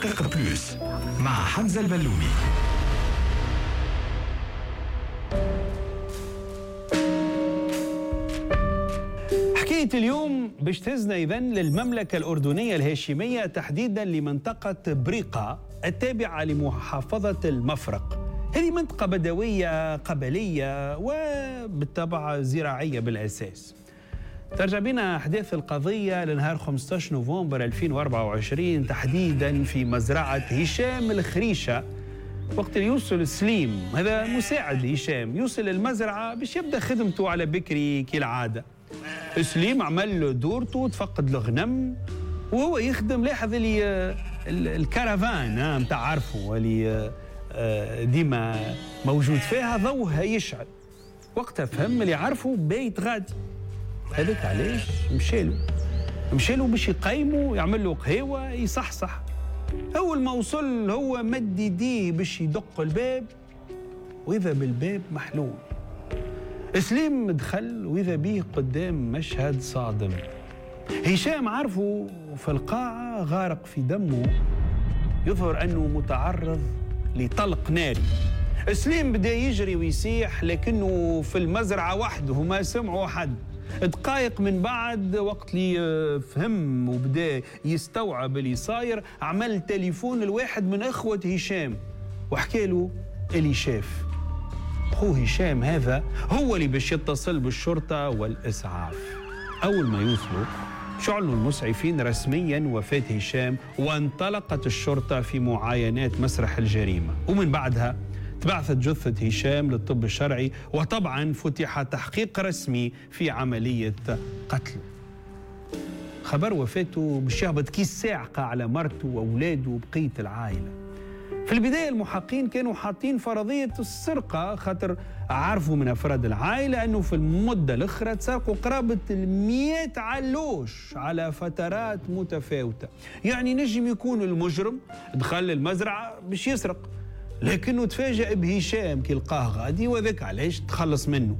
محقق plus مع حمزة البلومي. حكاية اليوم باش تهزنا إذن للمملكة الأردنية الهاشمية، تحديدا لمنطقة بريقة التابعة لمحافظة المفرق. هذه منطقة بدوية قبلية وبالطبع زراعية بالأساس. ترجع بنا أحداث القضية لنهار 15 نوفمبر 2024، تحديدا في مزرعة هشام الخريشة. وقت اللي يوصل سليم، هذا مساعد هشام، يوصل المزرعة باش يبدأ خدمته على بكري كالعادة. سليم عمل دورته، تفقد الغنم وهو يخدم، لاحظ اللي الكرفان نتاع عرفه اللي ديما موجود فيها ضوءها يشعل. وقتها فهم اللي عرفه بيت غادي، هذاك علاش مشالو باش يقيمه، يعمل له قهوة يصحصح. أول ما وصل هو مد يديه باش يدق الباب، وإذا بالباب محلول. سليم دخل وإذا بيه قدام مشهد صادم. هشام عرفه في القاعة غارق في دمه، يظهر أنه متعرض لطلق ناري. سليم بدأ يجري ويسيح، لكنه في المزرعة وحده وما سمعوا حد. دقائق من بعد وقت اللي فهم وبدأ يستوعب اللي صاير، عمل تليفون لواحد من إخوة هشام وحكى له اللي شاف. أخوه هشام هذا هو اللي باش يتصل بالشرطة والإسعاف. أول ما يوصلوا شعلوا المسعفين رسميا وفاة هشام، وانطلقت الشرطة في معاينات مسرح الجريمة. ومن بعدها تبعثت جثة هشام للطب الشرعي، وطبعا فتح تحقيق رسمي في عملية قتله. خبر وفاته باش يهبط كيس ساعقة على مرته وأولاده وبقية العائلة. في البداية المحقين كانوا حاطين فرضية السرقة، خاطر عرفوا من أفراد العائلة أنه في المدة الأخرى تسرقوا قرابة 100 علوش على فترات متفاوتة. يعني نجم يكون المجرم دخل المزرعة باش يسرق، لكنه تفاجأ بهشام كي لقاه غادي، وذاك علاش تخلص منه.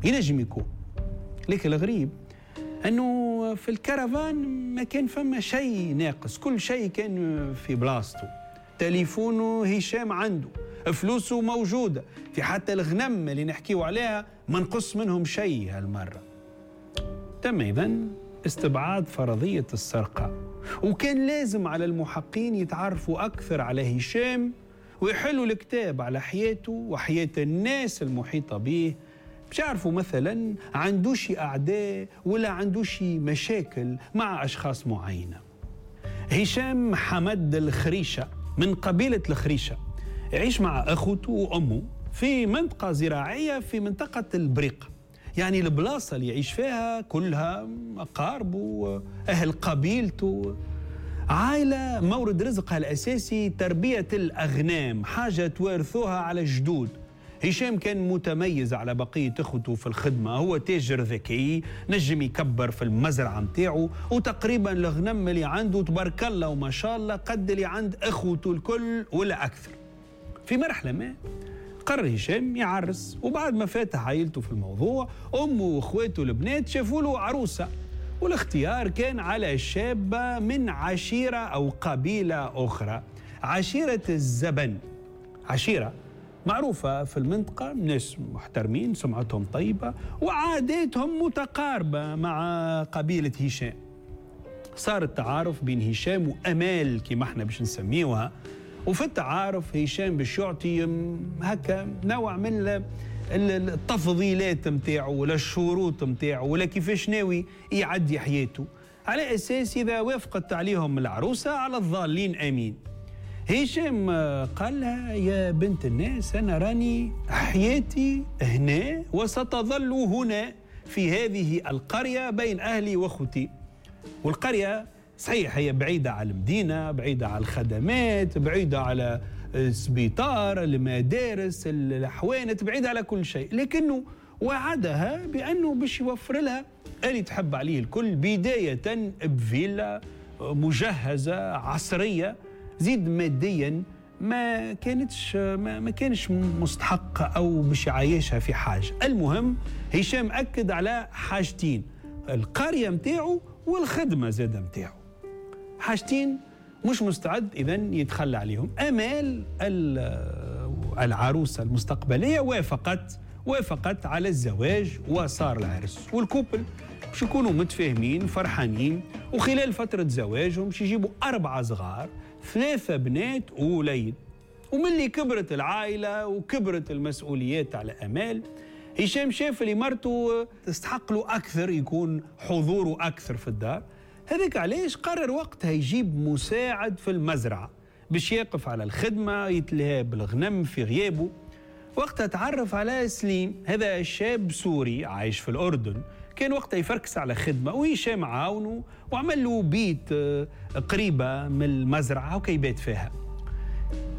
ينجم يكون، لكن الغريب أنه في الكرفان ما كان فما شيء ناقص، كل شيء كان في بلاصته. تليفونه هشام عنده، فلوسه موجودة، في حتى الغنم اللي نحكيو عليها ما نقص منهم شيء هالمرة. تم إذن استبعاد فرضية السرقة، وكان لازم على المحقين يتعرفوا أكثر على هشام ويحلوا الكتاب على حياته وحياة الناس المحيطة به، باش يعرفوا مثلا عندوش أعداء ولا عندوش مشاكل مع أشخاص معينة. هشام حمد الخريشة من قبيلة الخريشة، يعيش مع أخوته وأمه في منطقة زراعية في منطقة البريقة. يعني البلاصة اللي يعيش فيها كلها أقاربه، أهل قبيلته، عائلة مورد رزقها الأساسي تربية الأغنام، حاجة توارثوها على الجدود. هشام كان متميز على بقية أخوته في الخدمة، هو تاجر ذكي، نجم يكبر في المزرعة متاعه، وتقريبا الغنم اللي عنده تبارك الله وما شاء الله قد اللي عند أخوته الكل ولا أكثر. في مرحلة ما قرر هشام يعرس، وبعد ما فاتح عائلته في الموضوع، أمه وأخواته البنات شافوا له عروسة، والاختيار كان على شابة من عشيرة أو قبيلة أخرى، عشيرة الزبن. عشيرة معروفة في المنطقة، ناس محترمين، سمعتهم طيبة وعاداتهم متقاربة مع قبيلة هشام. صار التعارف بين هشام وأمال كما احنا باش نسميوها، وفي التعارف هشام باش يعطي هكا نوع من التفضيلات متاعه ولا الشروط متاعه ولا كيفاش ناوي يعدي حياته، على أساس إذا وافقت عليهم العروسة على الضالين أمين. هشام قال لها يا بنت الناس، أنا راني حياتي هنا وستظل هنا في هذه القرية بين أهلي وأخوتي. والقرية صحيح هي بعيدة على المدينة، بعيدة على الخدمات، بعيدة على السبيطار، المدارس، الحوانت، بعيدة على كل شيء، لكنه وعدها بأنه باش يوفر لها اللي تحب عليه الكل، بداية بفيلا مجهزة عصرية، زيد ماديا ما كانش مستحق أو باش يعيشها في حاجة. المهم هشام أكد على حاجتين، القرية متاعه والخدمة زادة متاعه، حاجتين مش مستعد إذن يتخلى عليهم. أمال العروسة المستقبلية وافقت على الزواج وصار العرس، وال couple باش يكونوا متفاهمين فرحانين. وخلال فترة زواجهم باش يجيبوا 4 صغار، 3 بنات ووليد. وملي كبرت العائلة وكبرت المسؤوليات على أمال، هشام شاف اللي مرته تستحق له أكثر، يكون حضوره أكثر في الدار. هذاك علاش قرر وقتها يجيب مساعد في المزرعة باش يقف على الخدمة، يتلهى بالغنم في غيابه. وقتها تعرف على سليم، هذا شاب سوري عايش في الأردن، كان وقتها يفركس على خدمة، وهشام عاونه وعمل له بيت قريبة من المزرعة وكيبات فيها.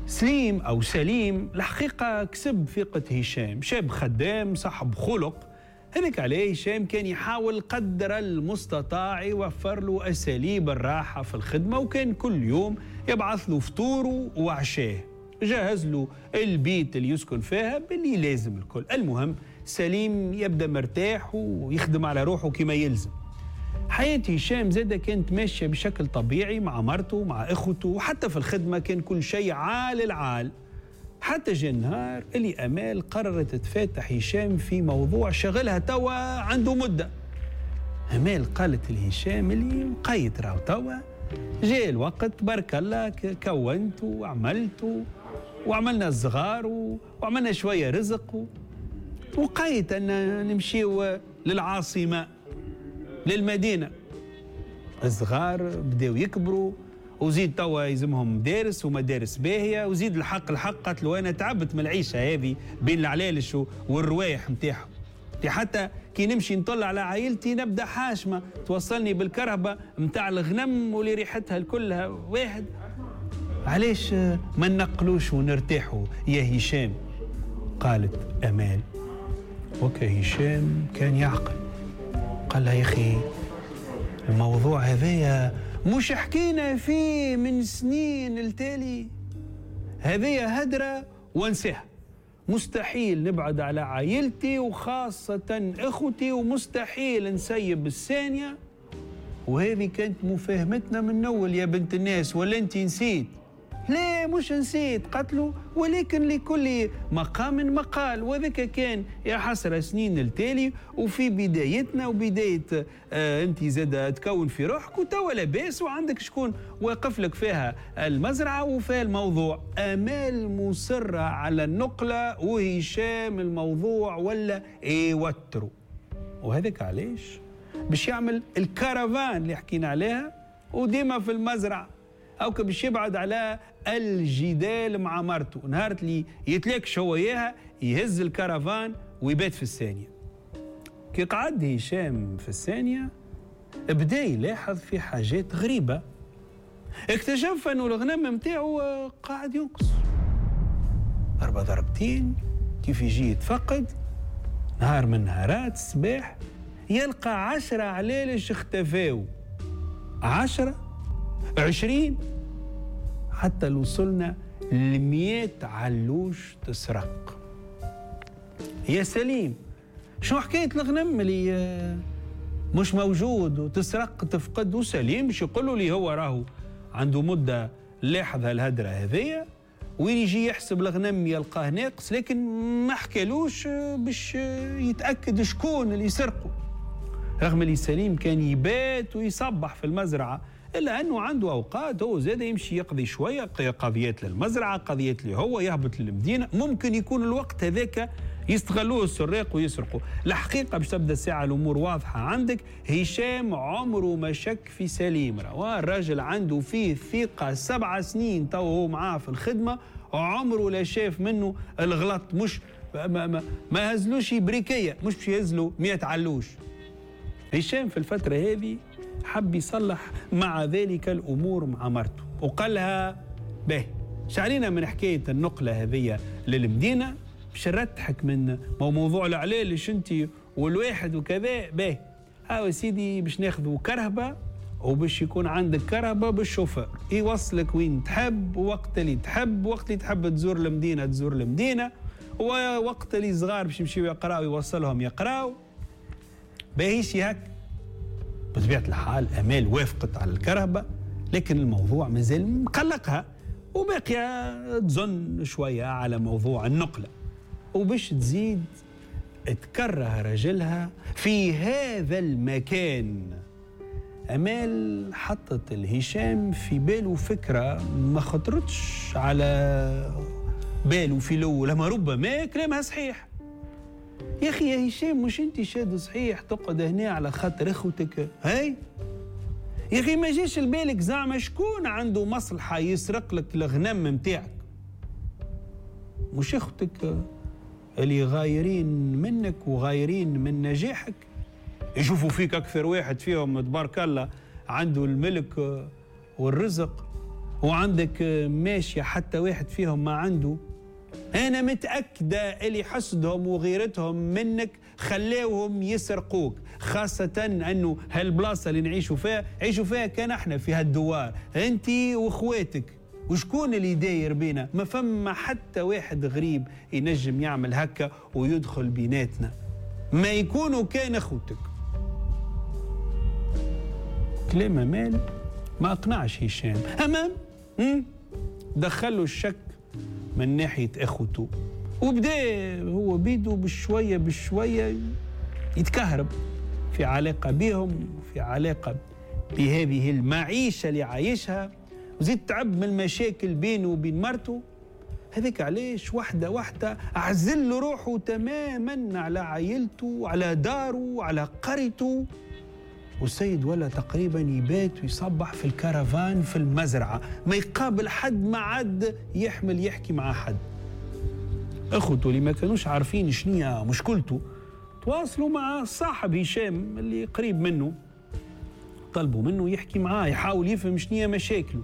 سليم أو سليم الحقيقة كسب ثقة هشام، شاب خدام صاحب خلق. هذاك عليه هشام كان يحاول قدر المستطاع يوفر له أساليب الراحة في الخدمة، وكان كل يوم يبعث له فطوره وعشاه، جهز له البيت اللي يسكن فيها باللي لازم الكل. المهم سليم يبدأ مرتاح ويخدم على روحه كما يلزم. حياة هشام زادة كانت ماشية بشكل طبيعي مع مرته مع إخوته، وحتى في الخدمة كان كل شيء عال العال. حتى جاء النهار اللي أمال قررت تفاتح هشام في موضوع شغلها توا عنده مدة. أمال قالت لهشام اللي مقيت راهو توا جاء الوقت، بارك الله كونت وعملت وعملنا الصغار وعملنا شوية رزق، وقيت أن نمشيو للعاصمة للمدينة. الصغار بداو يكبروا، وزيد توا يلزمهم مدارس ومدارس باهية، وزيد الحق قالت له أنا تعبت من العيشة هذه بين العلالش والروايح نتاعهم، حتى كي نمشي نطلع على عائلتي نبدا حاشمة توصلني بالكرهبة نتاع الغنم واللي ريحتها كلها واحد. علاش ما نقلوش ونرتاحوا يا هشام؟ قالت أمال. وكا هشام كان يعقل، قال لها يا أخي الموضوع هذايا مش حكينا فيه من سنين التالي، هذه هدرة وانساها، مستحيل نبعد على عائلتي وخاصة إخوتي، ومستحيل نسيب الثانية، وهذه كانت مفاهمتنا من أول يا بنت الناس، ولا أنت نسيت؟ لا مش نسيت، قتلوا، ولكن لكل مقام مقال، وذاك كان يا حسرة سنين التالي وفي بدايتنا وبداية انت زاد تكون في روحك وتوا لاباس وعندك شكون واقف لك فيها المزرعة وفيها الموضوع. آمال مصرة على النقلة وهشام الموضوع ولا يوتروا، وهذاك علاش باش يعمل الكرفان اللي حكينا عليها وديما في المزرعة، أو باش يبعد على الجدال مع مرته. نهار اللي يتلاكش هو إياها يهز الكرفان ويبات في الثانية. كي قعد هشام في الثانية بدا يلاحظ في حاجات غريبة، اكتشف أنه الغنم متاعه قاعد ينقص ضربة ضربتين. كيف يجي يتفقد نهار من نهارات الصباح يلقى 10 علالش اختفاو، 10 20، حتى لو وصلنا ل100 علوش تسرق. يا سليم شو حكاية الغنم اللي مش موجود وتسرق تفقد؟ وسليم باش يقولوا لي هو راهو عنده مدة لاحظ هالهدرة هذية، وين يجي يحسب الغنم يلقاه ناقص، لكن ما حكالوش باش يتأكد شكون اللي سرقه. رغم اللي سليم كان يبات ويصبح في المزرعة، إلا أنه عنده أوقات هو زاد يمشي يقضي شوية قضيات للمزرعة، قضيات اللي هو يهبط للمدينة، ممكن يكون الوقت هذاك يستغلوه السراق ويسرقوا. الحقيقة باش تبدأ الساعة الأمور واضحة عندك، هشام عمره ما شك في سليم، الراجل عنده فيه ثقة 7 سنين تو هو معاه في الخدمة، عمره لا شاف منه الغلط، مش ما هزلوش بريكية، مش باش يهزلو 100 علوش. هشام في الفترة هذه حب يصلح مع ذلك الأمور مع مرته، وقال لها به شعلينا من حكاية النقلة هذه للمدينة باش نرتحك من موضوع العلالش انت والواحد وكذا. به هاو سيدي باش ناخذوا كرهبة، وباش يكون عندك كرهبة بالشوفير يوصلك وين تحب وقت اللي تحب، وقت اللي تحب تزور المدينة تزور المدينة، ووقت اللي صغار باش يمشيو يقراو يوصلهم يقراو. باهيش هك. بطبيعة الحال أمال وافقت على الكرهبة، لكن الموضوع مازال مقلقها وباقية تظن شوية على موضوع النقلة، وباش تزيد تكره رجلها في هذا المكان. أمال حطت الهشام في باله فكرة ما خطرتش على باله في الأول، لما ربما كلامها صحيح. يا أخي يا هشام، مش أنت شاد صحيح تقعد هنا على خاطر إخوتك؟ هاي يا أخي ما جاش لبالك زعما شكون عنده مصلحة يسرق لك الغنم متاعك؟ مش إخوتك اللي غايرين منك وغايرين من نجاحك، يشوفوا فيك أكثر واحد فيهم تبارك الله عنده الملك والرزق، وعندك ماشية حتى واحد فيهم ما عنده. أنا متأكدة اللي حسدهم وغيرتهم منك خلاوهم يسرقوك، خاصة أنه هالبلاصة اللي نعيشوا فيها عيشوا فيها كان احنا في هالدوار أنت وإخواتك، وشكون اللي داير بينا؟ ما فما حتى واحد غريب ينجم يعمل هكا ويدخل بيناتنا، ما يكونوا كان اخوتك. كلام أمال ما أقنعش هشام، أمام دخلوا الشك من ناحية اخوته، وبدا هو بيده بشوية بشوية يتكهرب في علاقة بهم، في علاقة بهذه المعيشة اللي عايشها، وزيد تعب من المشاكل بينه وبين مرته. هذيك علاش واحدة واحدة عزل روحه تماما على عائلته، على داره، على قريته. والسيد ولا تقريبا يبات ويصبح في الكرفان في المزرعة، ما يقابل حد، ما عاد يحمل يحكي مع حد. اخوته اللي ما كانوش عارفين شنية مشكلته تواصلوا مع صاحب هشام اللي قريب منه، طلبوا منه يحكي معاه، يحاول يفهم شنية مشاكله.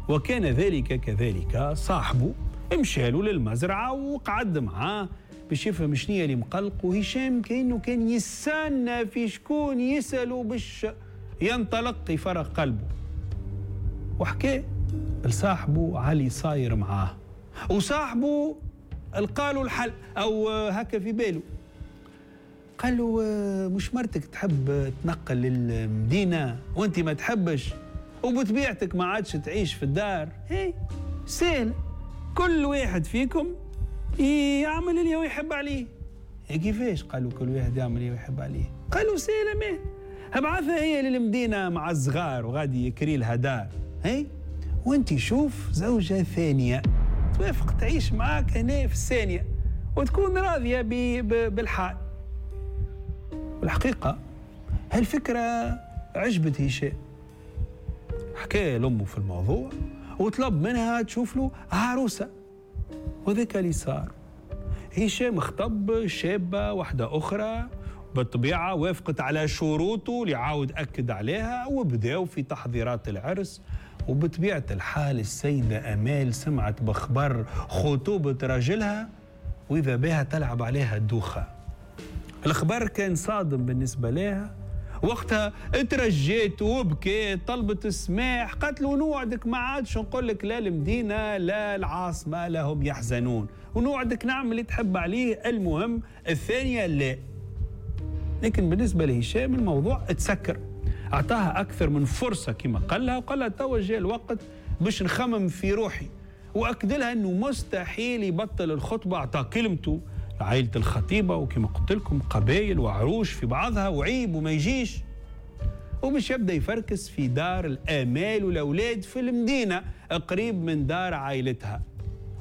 وكان ذلك كذلك، صاحبه مشالو للمزرعة وقعد معاه باش يفهم شنية اللي مقلق. وهشام كأنه كان يستنى في شكون يسأله باش ينطلق يفرغ قلبه، وحكى لصاحبه علي صاير معاه، وصاحبه لقاله الحل أو هكا في باله. قال له مش مرتك تحب تنقل للمدينة وانت ما تحبش، وبطبيعتك ما عادش تعيش في الدار؟ هي سهل، كل واحد فيكم يعمل اللي هو يحب عليه. كيفاش؟ قالوا كل واحد يعمل اللي يحب عليه. قالوا سهلة، ما ابعثها هي للمدينة مع الصغار وغادي يكري لها دار، هي وانت شوف زوجة ثانية توافق تعيش معاك هنا في الثانية وتكون راضية بالحال. والحقيقة هالفكرة عجبت هشام، حكى لأمه في الموضوع وطلب منها تشوف له عروسة، وذاك اللي صار. هشام خطب شابة واحدة أخرى، بالطبيعة وافقت على شروطه اللي عاود أكد عليها، وبداوا في تحضيرات العرس. وبطبيعة الحال السيدة أمال سمعت بخبر خطوبة رجلها وإذا بها تلعب عليها الدوخة. الخبر كان صادم بالنسبة لها وقتها، اترجيت وبكيت، طلبت السماح، قالت له نوعدك ما عادش نقول لك لا المدينة لا العاصمة لهم يحزنون، ونوعدك نعمل اللي تحب عليه، المهم الثانية لا. لكن بالنسبة لهشام الموضوع اتسكر، أعطاها أكثر من فرصة كما قال لها، وقال لها توا جاء الوقت باش نخمم في روحي، وأكد لها أنه مستحيل يبطل الخطبة. أعطى كلمته لعائلة الخطيبة، وكما قلت لكم قبائل وعروش في بعضها وعيب وما يجيش، وباش يبدأ يفركس في دار الآمال والأولاد في المدينة قريب من دار عائلتها.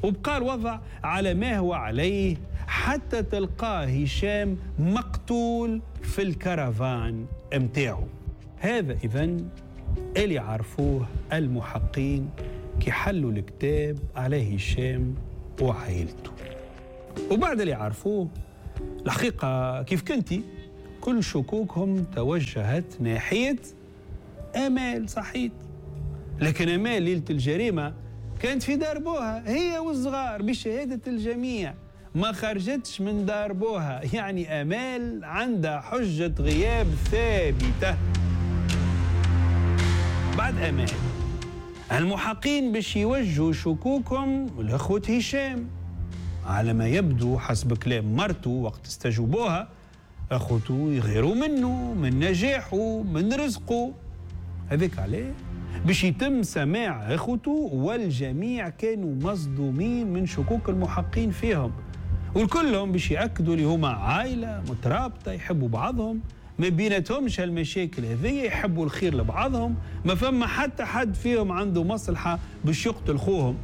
وبقى الوضع على ما هو عليه حتى تلقاه هشام مقتول في الكرفان متاعه. هذا إذن اللي عرفوه المحقين كي حلوا الكتاب على هشام وعائلته. وبعد اللي عرفوه الحقيقة كيف كنتي كل شكوكهم توجهت ناحية آمال. صحيت، لكن آمال ليلة الجريمة كانت في دار بوها هي والصغار بشهادة الجميع، ما خرجتش من دار بوها، يعني آمال عندها حجة غياب ثابتة. بعد آمال المحقين باش يوجهوا شكوكهم لأخوة هشام، على ما يبدو حسب كلام مرته وقت استجوبوها أخوته يغيروا منه، من نجاحه، من رزقه. هذاك عليه باش يتم سماع اخوته، والجميع كانوا مصدومين من شكوك المحقين فيهم، والكلهم باش يأكدوا اللي هما عائلة مترابطة يحبوا بعضهم، ما بيناتهمش هالمشاكل هذية، يحبوا الخير لبعضهم، ما فما حتى حد فيهم عنده مصلحة باش يقتل خوهم.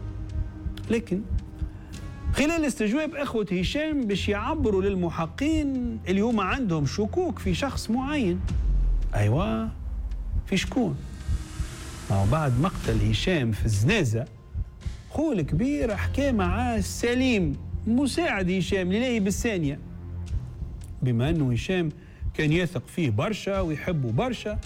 لكن خلال استجواب اخوة هشام باش يعبروا للمحقين اللي هما عندهم شكوك في شخص معين. ايوه، في شكون؟ ما هو بعد مقتل هشام في الزنازة، خوه الكبير حكى مع سليم مساعد هشام اللي بالثانية، بما انه هشام كان يثق فيه برشا ويحبه برشا،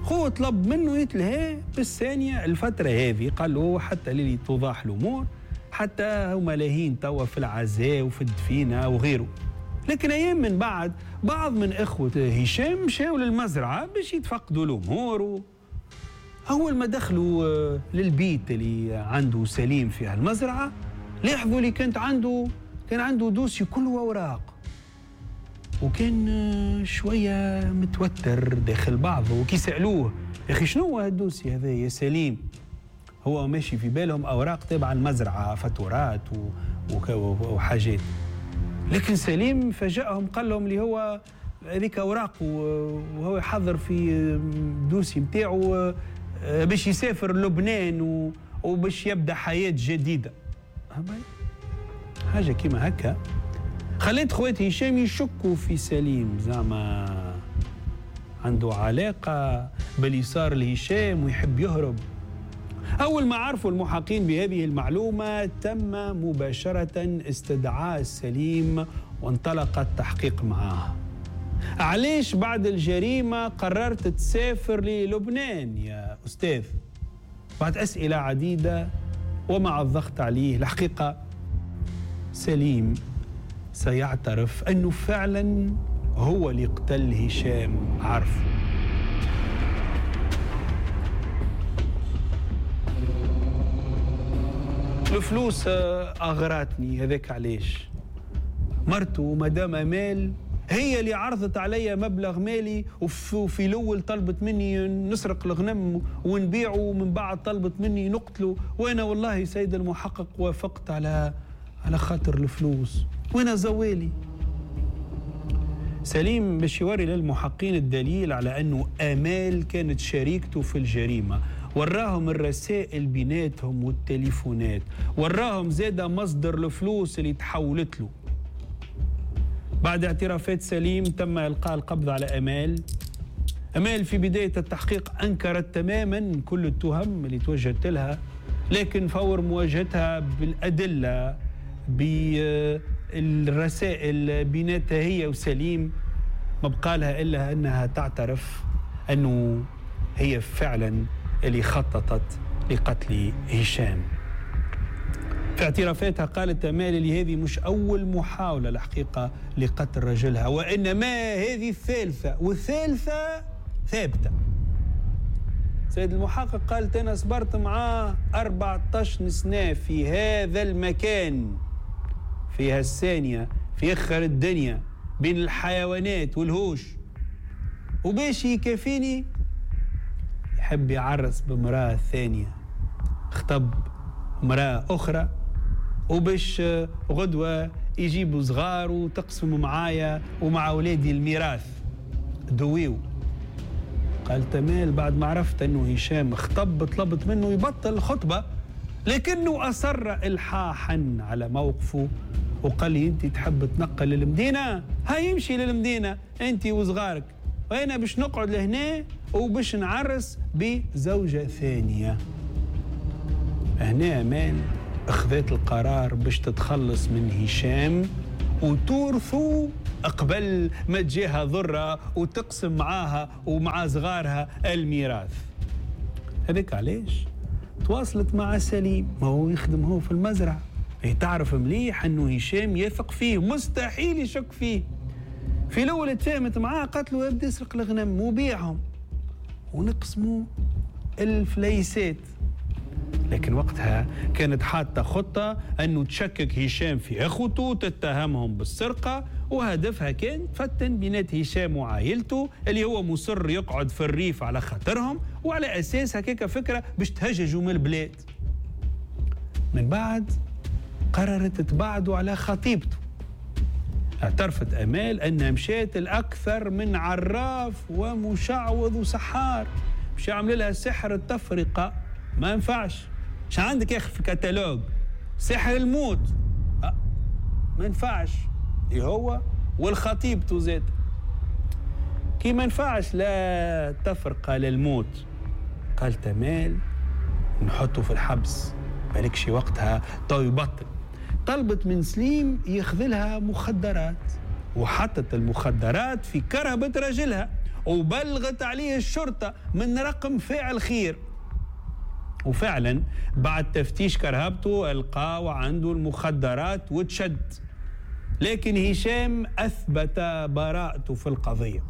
خوه طلب منه يتلهى بالثانية الفترة هذه، قال له حتى اللي توضح الأمور، حتى هما لاهين توا في العزاء وفي الدفينة وغيره. لكن أيام من بعد بعض من إخوة هشام مشاو للمزرعة باش يتفقدوا الأمور. أول ما دخلوا للبيت اللي عنده سليم في المزرعة، لاحظوا اللي كان عنده dossier كله أوراق، وكان شوية متوتر داخل بعضه. وكي سألوه يا أخي شنو هو هال dossier هذا يا سليم، هو ماشي في بالهم أوراق تبع المزرعة، فاتورات وحاجات. لكن سليم فاجأهم قال لهم اللي هو هذيك أوراق، وهو يحضر في dossier نتاعو باش يسافر لبنان وباش يبدأ حياة جديدة. حاجة كيما هكا خليت خوات هشام يشكوا في سليم، زعما عنده علاقة باللي صار لهشام ويحب يهرب. أول ما عرفوا المحقين بهذه المعلومة تم مباشرة استدعاء سليم وانطلق التحقيق معاه. علاش بعد الجريمة قررت تسافر للبنان يا أستاذ؟ بعد أسئلة عديدة ومع الضغط عليه، الحقيقة سليم سيعترف أنه فعلا هو اللي قتل هشام عرفه. الفلوس أغرتني، هذاك علاش مرته مدام أمال هي اللي عرضت علي مبلغ مالي، وفي الأول طلبت مني نسرق الغنم ونبيعه، ومن بعد طلبت مني نقتله، وأنا والله سيد المحقق وافقت على خاطر الفلوس، وأنا زوالي. سليم باش يوري للمحقين الدليل على أنه آمال كانت شريكته في الجريمة، وراهم الرسائل بيناتهم والتليفونات، وراهم زادة مصدر الفلوس اللي تحولت له. بعد اعترافات سليم تم إلقاء القبض على آمال. آمال في بداية التحقيق أنكرت تماما كل التهم اللي توجهت لها، لكن فور مواجهتها بالأدلة بالرسائل بيناتها هي وسليم ما بقالها إلا أنها تعترف أنه هي فعلا اللي خططت لقتل هشام. في اعترافاتها قالت آمال اللي هذه مش أول محاولة الحقيقة لقتل رجلها، وإنما هذه الثالثة، والثالثة ثابتة. سيد المحقق قالت أنا صبرت معاه 14 سنة في هذا المكان، في هالثانية، في آخر الدنيا، بين الحيوانات والهوش، وباش يكفيني يحب يعرس بمرأة ثانية، خطب امرأة أخرى، وباش غدوة يجيبوا صغار وتقسموا معايا ومع أولادي الميراث دويو. قال تمال بعد ما عرفت أنه هشام خطب طلبت منه يبطل الخطبة، لكنه أصر إلحاحا على موقفه وقال لي أنت تحب تنقل للمدينة، هاي يمشي للمدينة أنت وصغارك، وأنا باش نقعد لهنا وباش نعرس بزوجة ثانية. هنا آمال أخذت القرار باش تتخلص من هشام وتورثه قبل ما تجيها ضرة وتقسم معاها ومع صغارها الميراث. هذاك علاش تواصلت مع سليم، ما هو يخدم هو في المزرعة، هي تعرف مليح أنه هشام يثق فيه، مستحيل يشك فيه. في الأول تفاهمت معاه، قالت له ابدا اسرق الغنم وبيعهم ونقسموا الفليسات. لكن وقتها كانت حاطة خطة أنه تشكك هشام في أخوته، تتهمهم بالسرقة، وهدفها كان تفتن بينات هشام وعائلته اللي هو مصر يقعد في الريف على خاطرهم وعلى أساس هكاك فكرة باش تهججوا من البلاد. من بعد قررت تبعدوا على خطيبته. اعترفت أمال أنها مشات الأكثر من عراف ومشعوذ وسحار باش يعمل لها سحر التفرقة، ما ينفعش. مش عندك يا أخي في كتالوج سحر الموت، ما ينفعش هو والخطيبته زاد. كي ما ينفعش لا تفرقة للموت، قالت أمال نحطه في الحبس بالك شي وقتها تو يبطل. طلبت من سليم ياخذلها مخدرات، وحطت المخدرات في كرهبة رجلها وبلغت عليه الشرطة من رقم فاعل خير. وفعلا بعد تفتيش كرهبته لقاو عنده المخدرات وتشد، لكن هشام أثبت براءته في القضية.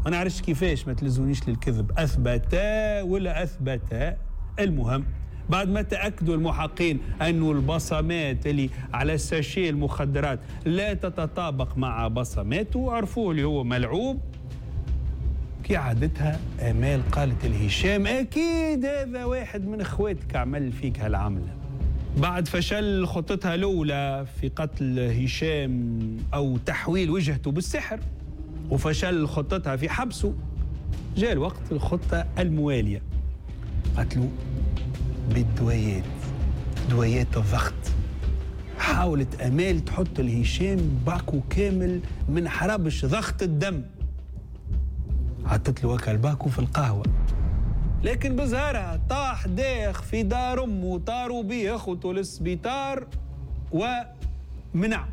ما نعرفش كيفاش، ما تلزونيش للكذب، أثبت ولا أثبت. المهم بعد ما تأكدوا المحقين أنه البصمات اللي على ساشي المخدرات لا تتطابق مع بصماته، عرفوه اللي هو ملعوب. كي عادتها آمال قالت لهشام أكيد هذا واحد من إخواتك عمل فيك هالعملة. بعد فشل خطتها الأولى في قتل هشام أو تحويل وجهته بالسحر، وفشل خطتها في حبسه، جاء الوقت الخطة الموالية. قتلوا بالدويات، دويات الضغط. حاولت أمال تحط لهشام باكو كامل من حربش ضغط الدم، حطت له وكا الباكو في القهوة، لكن بزهرها طاح داخ في دار أمه، طاروا بيه أخوته للسبيطار ومنع.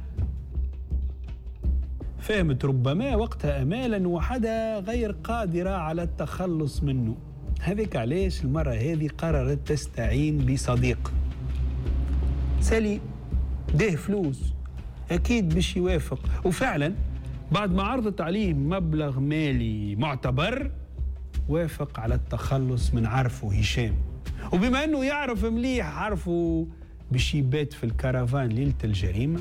فهمت ربما وقتها أمال أن وحدها غير قادرة على التخلص منه، هذيك علاش المرة هذه قررت تستعين بصديق سالي ده فلوس أكيد باش يوافق. وفعلا بعد ما عرضت عليه مبلغ مالي معتبر وافق على التخلص من عرفه هشام. وبما أنه يعرف مليح عرفه باش يبات في الكرفان ليلة الجريمة،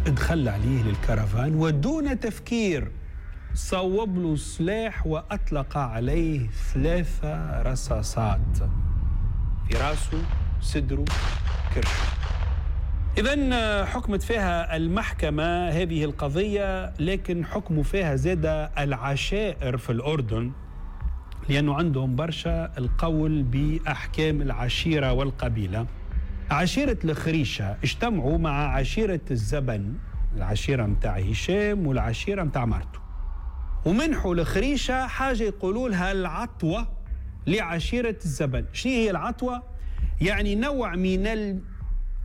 ادخل عليه للكرفان ودون تفكير صوب له سلاح وأطلق عليه 3 رصاصات في راسه، صدره، كرشه. إذن حكمت فيها المحكمة هذه القضية، لكن حكموا فيها زاد العشائر في الأردن، لأنه عندهم برشا القول بأحكام العشيرة والقبيلة. عشيرة الخريشة اجتمعوا مع عشيرة الزبن، العشيرة متاع هشام والعشيرة متاع مرته، ومنحوا الخريشة حاجة يقولوا لها العطوة لعشيرة الزبن. شنو هي العطوة؟ يعني نوع من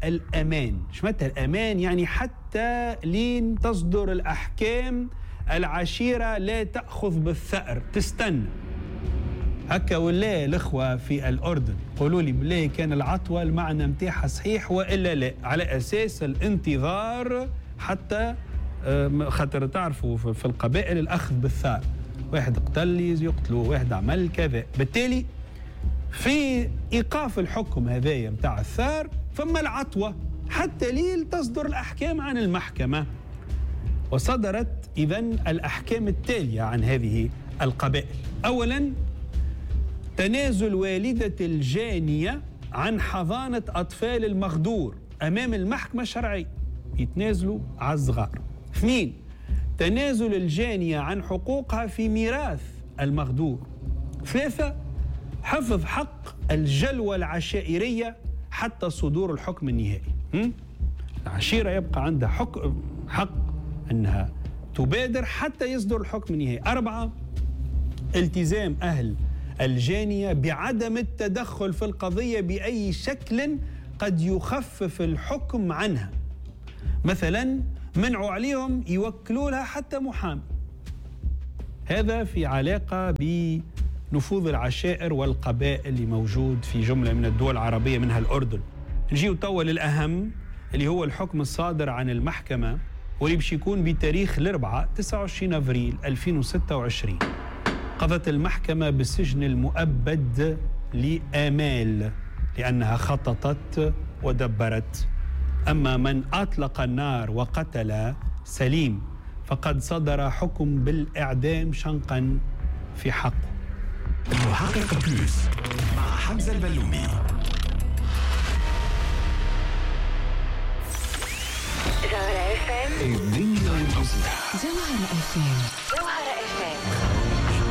الأمان. شو معناتها الأمان؟ يعني حتى لين تصدر الأحكام العشيرة لا تأخذ بالثأر، تستنى هكا. ولا الأخوة في الأردن قولوا لي بالله كان العطوة المعنى متاعها صحيح وإلا لا، على أساس الانتظار حتى خاطر تعرفوا في القبائل الأخذ بالثأر، واحد قتل يقتلوه، واحد عمل كذا. بالتالي في إيقاف الحكم هذايا متاع الثار فما العطوة حتى ليل تصدر الأحكام عن المحكمة. وصدرت إذن الأحكام التالية عن هذه القبائل. أولا، تنازل والدة الجانية عن حضانة أطفال المغدور أمام المحكمة الشرعية، يتنازلوا على الصغار. 2، تنازل الجانية عن حقوقها في ميراث المغدور. 3، حفظ حق الجلوة العشائرية حتى صدور الحكم النهائي. العشيرة يبقى عندها حق أنها تبادر حتى يصدر الحكم النهائي. 4، التزام أهل الجانية بعدم التدخل في القضية بأي شكل قد يخفف الحكم عنها، مثلا منعوا عليهم يوكلوا لها حتى محامي. هذا في علاقة بنفوذ العشائر والقبائل اللي موجود في جملة من الدول العربية منها الأردن. نجيو توا للأهم اللي هو الحكم الصادر عن المحكمة واللي باش يكون بتاريخ الأربعاء 29 أفريل 2026. قضت المحكمة بالسجن المؤبد لآمال لأنها خططت ودبرت. أما من أطلق النار وقتل سليم فقد صدر حكم بالإعدام شنقا في حقه. المحقق Plus مع حمزة البلومي. جوهرة FM. الدنيا والمزيد. جوهرة FM. جوهرة FM.